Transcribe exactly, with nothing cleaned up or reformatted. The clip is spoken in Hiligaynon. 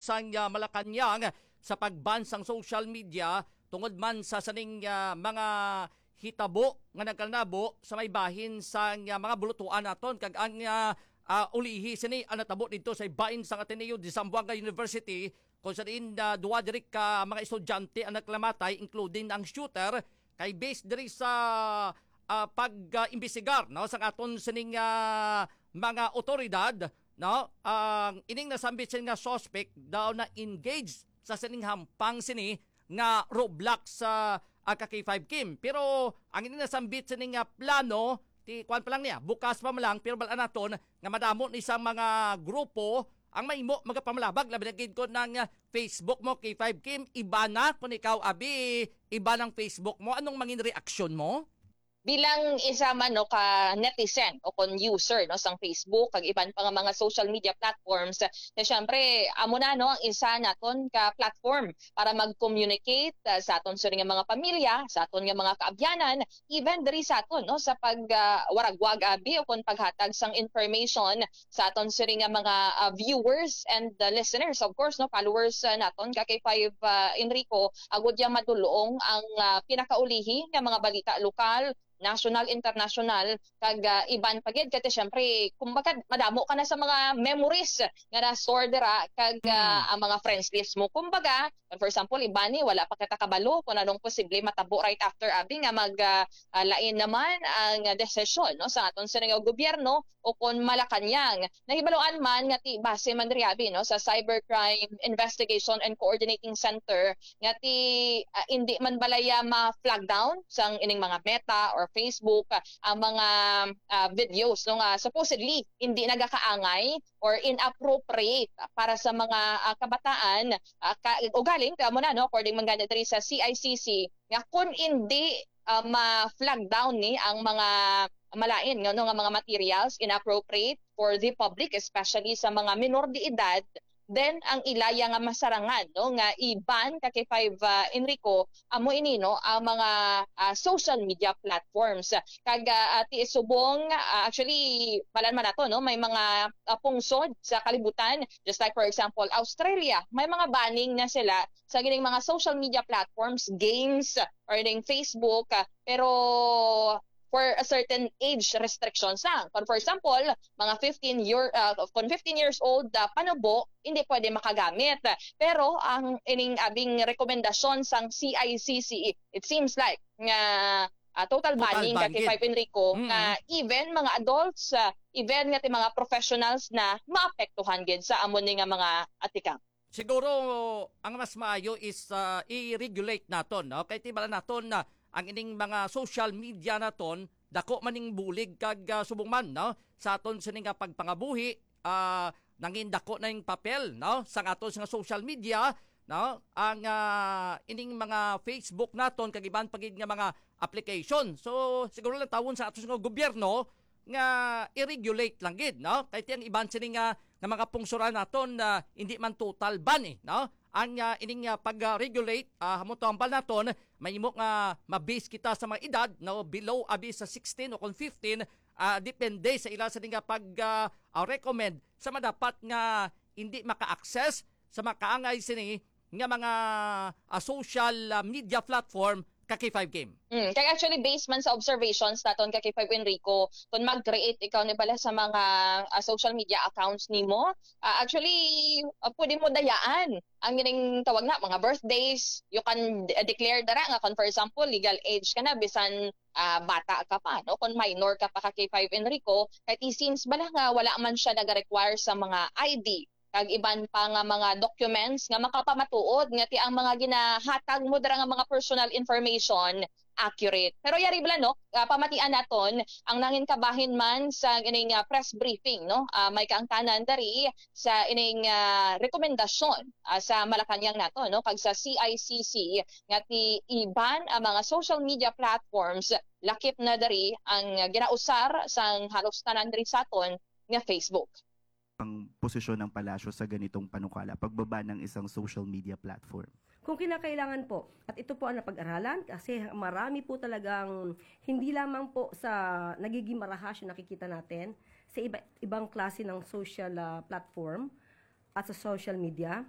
sang, ah, Malacañang sa pag-ban sang social media tungod man sa sining, ah, mga hitabo nga nagkalanabo sa may bahin sang, ah, mga bulutuan naton, kag ang, ah, ah, ulihi sini ang natabo didto sa bahin sang Ateneo de Zamboanga University, kung sa diin, ah, duha diri ka mga estudyante ang nagkalamatay, including ang shooter, kay based diri sa, ah, pag, ah, imbestigar, no, sang aton sining, ah, mga otoridad, no, ang ining nasambit sini nga suspect daw na engaged sa sining hampang sini nga Roblox sa, ah, ka K five Kim. Pero ang ining nasambit sini nga plano, ti kuan pa lang niya, bukas pa man lang, pero bal-an naton nga madamo ni sa mga grupo ang mahimo magapamalabag, labi na gid kon ang, ah, Facebook mo, K five Kim, iba na. Kung ikaw, abi, iba ng Facebook mo, anong mangin reaksyon mo? Bilang isa man, no, ka netizen o kon user, no, sang Facebook kag iban pa nga mga social media platforms, na syempre amo na, no, ang isa naton ka platform para mag-communicate, ah, sa aton sini nga mga pamilya, sa aton nga mga kaabyanan, even diri sa aton, no, sa pag, ah, waragwag, abi, o kon paghatag sang information sa aton sini nga mga, ah, viewers and, ah, listeners, of course, no, followers, ah, naton ka K five, ah, Enrico, agud yang madulong ang, ah, pinakaulihi nga mga balita lokal, national, international, kag, ah, iban pa gid. Kay syempre, kumbaga, madamo ka na sa mga memories nga na-store dira, kag, ah, Mm. ang mga friends list mo. Kumbaga, for example, iba ni, wala pa kita kabalo kung anong posible matabo right after, abi, nga mag, ah, ah, lain naman ang desisyon, no, sa aton sini nga gobyerno o kon Malacañang. Nahibaluan man nga ti base man diri, abi, no, sa Cybercrime Investigation and Coordinating Center nga ti, ah, indi man balaya ma-flag down sang ining mga Meta or Facebook, ah, ang mga, ah, videos, no, nga supposedly indi nagakaangay or inappropriate para sa mga, ah, kabataan, ah, ka, ugaling, kamo na, no, according man gani diri sa C I C C, nga kun indi, ah, ma-flag down ni ang mga malain nga, no, nga mga materials inappropriate for the public, especially sa mga minor de edad, then ang ilaya nga masarangan, no, nga i-ban ka K five, ah, Enrico, amo ini, no, ang mga, ah, social media platforms. Kag, ah, ti subong, ah, actually, balan man nato, no, may mga, ah, pungsod sa kalibutan, just like, for example, Australia, may mga banning na sila sa gining mga social media platforms, games, or ning Facebook, ah, pero for a certain age restrictions lang. Kung for example, mga fifteen year, ah, kung fifteen years old, ah, panubo, hindi pwede makagamit. Pero ang ining abing rekomendasyon sang C I C C, it seems like nga, ah, total Total banning ban ka kay gid. Five Enrico, Mm. nga even mga adults, ah, even nga ti mga professionals na maapektuhan gid sa amo ni nga mga atikang. Siguro ang mas maayo is, ah, i-regulate naton, no? Kay ti bala naton na ang ining mga social media naton, dako man ning bulig kag, ah, subong man, no, sa aton sini nga pagpangabuhi, ah, nangin dako na yung papel, no, sa aton nga social media, no, ang, ah, ining mga Facebook naton kag iban pa gid nga mga application. So siguro lang tawon sa aton nga gobyerno nga i-regulate lang gid, no? Kay ti ang iban sini nga, nga mga pungsuran naton na hindi man total ban, eh, no? Ang, ah, ining, ah, pag-regulate, ah, hamo to ang bal naton, mahimo nga mabase kita sa mga edad, no? Below abi sa sixteen o kung fifteen, ah, depende sa ila sa nga pag, ah, ah, recommend sa madapat nga hindi maka-access sa makaangay sini nga mga, ah, social, ah, media platform ka K five Game. Mm, kay actually, based man sa observations naton ka K five Enrico, kung mag-create ikaw ni bala sa mga, ah, social media accounts nimo, ah, actually, ah, pwede mo dayaan ang gining tawag na mga birthdays. You can de-, declare dara nga kung, for example, legal age ka na, bisan, ah, bata ka pa, no? Kung minor ka pa ka K five Enrico, kay ti since bala nga wala man siya nag-require sa mga I D kag iban pa nga mga documents nga makapamatuod nga ti ang mga ginahatag mo dira nga mga personal information accurate. Pero yari bala, no, ah, pamatian naton ang nangin kabahin man sa ining, ah, press briefing, no? Ah, may kaangtanan dari sa ining, ah, rekomendasyon, ah, sa Malacañang nato, no, kag sa C I C C nga ti iban ang mga social media platforms, lakip na dari ang ginausar sang halos tanan diri sa aton nga Facebook. Ang posisyon ng palasyo sa ganitong panukala, pagbaba ng isang social media platform? Kung kinakailangan po, at ito po ang napag-aralan kasi marami po talagang hindi lamang po sa nagiging marahas yung nakikita natin sa iba, ibang klase ng social, ah, platform at sa social media.